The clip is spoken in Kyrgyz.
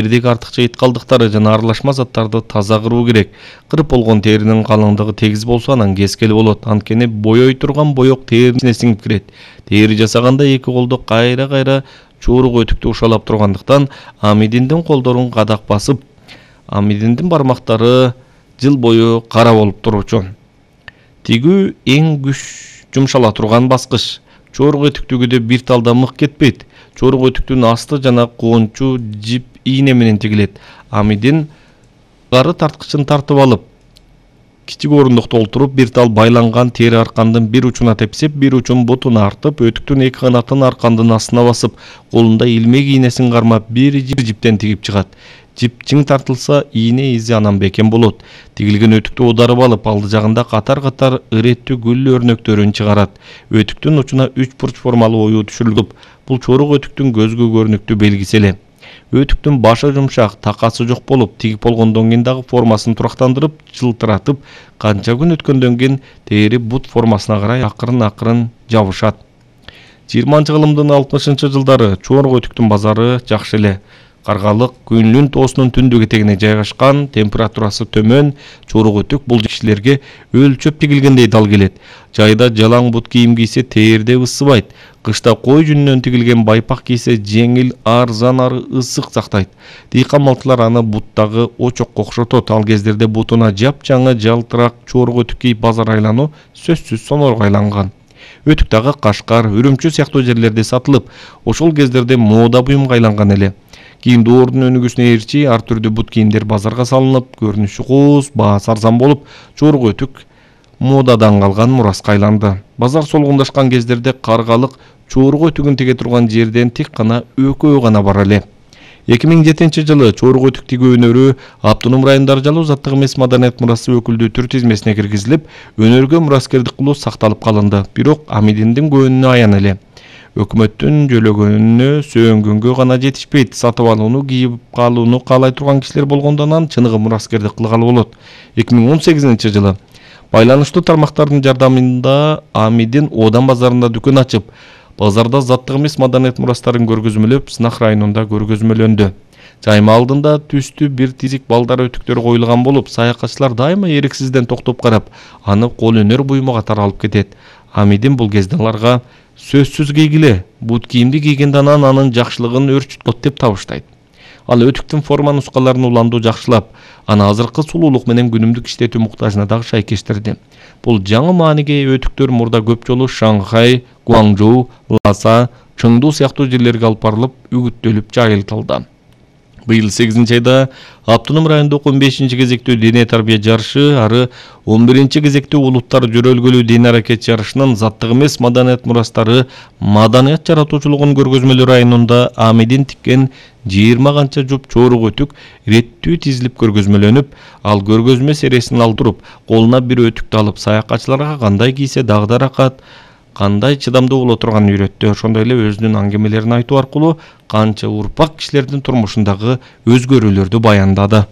Теридеги артыкча ит калдыктары жана аралашма заттарды таза кыруу керек. Кырып болгон теринин калыңдыгы тегиз болсо анан кескели болот. Анткени боёй турган боёк теринин ичине сиңип кирет. Тери жасаганда эки колдо кайра чуурук өтүктү ушалап тургандыктан Амидиндин колдорун кадак басып, Амидиндин бармактары жыл бою кара болуп турчу. Тигүү эң күч жумшала турган баскыч. Чорук өтүктүгүдө бир талда мык кетпейт. Чорук өтүктүн асты жана коончу жип ийне менен тигилет. Амидин гары тарткычын тартып алып, кичик орундукта олтуруп, бир тал байланган тери аркандын бир учуна тепсеп, бир учун бутуна артып, өтүктүн эки канатын аркандын астына басып, колунда илмек ийнесин кармап, бир жиптен тигип чыгат. Жип чиң тартылса, ийне изи анан бекем болот. Тигилген өтүктү оодарып алып, алды жагында катар ыреттүү гүл өрнөктөрүн чыгарат. Өтүктүн учуна 3 бурч формалуу оюу түшүрүлүп, бул чорук өтүктүн көзгө көрүнүктүү белгиси эле. Өтүктүн башы жумшак, такасы жок болуп, тигип болгондон кийин дагы формасын турактандырып, жылтыратып, канча күн өткөндөн кийин тери бут формасына карай акырын жабышат. 20-кылымдын 60-жылдары чорук өтүктүн базары жакшы эле. Каргалык Күнлүн тоосунун түндүк этегине жайгашкан, температурасы төмөн чорук өтүк бул кишилерге өлчөп тигилгендей дал келет. Жайда жалаң бут кийим кийсе терде ысыбайт. Кышта кой жүнүнөн тигилген байпак кийсе жеңил, арзан ары ысык сактайт. Дыйкан малчылар аны буттагы очокко окшотот. Ал кездерде бутуна жапжаңы жалтырак чорук өтүк кийип базар айлануу сөзсүз сонорго айланган. Өтүк дагы Кашкар, Үрүмчү сыяктуу жерлерде сатылып, ошол кездерде мода буюмга айланган эле. Кийин доордун өнүгүүсүнө ээрчи ар түрдүү бут кийимдер базарга салынып, көрүнүшү кооз, баасы арзан болуп, чорук өтүк модадан калган мураска айланды. Базар солгундашкан кездерде Каргалык чорук өтүгүн тиге турган жерден тик гана экөө гана бар эле. 2007-жылы чорук өтүк тигүү өнөрү Автоном райондор жалуу заттык эмес маданият мурасы өкүлдүү түр тизмесине киргизилип, өнөргө мураскердик кылуу сакталып калынды. Бирок Амидиндин көөнүнө аян эле. Өкмөттүн жөлөгөнүнө сөөнгөнгө гана жетишпейт. Сатып алууну, кийип калууну каалай турган кишилер болгондон анан чыныгы мураскердик кылгалы болот. 2018-жылы байланыштуу тармактардын жардамында Амидин Одан базарында дүкөн ачып, базарда заттык эмес маданият мурастарын көргөзмөлөп, Сынак районунда көргөзмөлөндү. Жайма алдында түстүү бир тизик балдар өтүктөр коюлган болуп, саякатчылар дайыма эриксизден токтоп карап, аны кол өнөр буюму катары алып кетет. Амидин бул кезде аларга сөзсүз кийгиле, бут кийимди кийгенде анын жакшылыгын өрчүткөт деп табыштайт. Ал өтүктүн форма нускаларын уланду жакшылап, аны азыркы сулуулук менен күнүмдүк иштетүү муктажына дагы шайкештирди. Бул жаңы мааниге өтүктөр мурда көп жолу Шанхай, Гуаңжоу, Ласа, Чыңду сыяктуу жерлерге алып барылып, үгүттөлүп жайылтылды. Быйыл 8-айда Автоном райондогу 15-чи кезектүү дене тарбия жарышы, ары 11-чи кезектүү улуттар жөрөлгөлүү дене аракет жарышынын заттык эмес маданият мурастары маданият жаратуучулугун көргөзмөлөө районунда Амидин тиккен 20 канча жуп чорук өтүк иреттүү тизилип көргөзмөлөнүп, ал көргөзмө сересин алдырып, колуна бир өтүктү алып саякатчыларга кандай кийсе дагы рахат, кандай чыдамдуу боло турганын үйрөттү. Ошондой эле өзүнүн аңгемелерин айтуу аркылуу канча урпак кишилердин турмушундагы өзгөрүүлөрдү баяндады.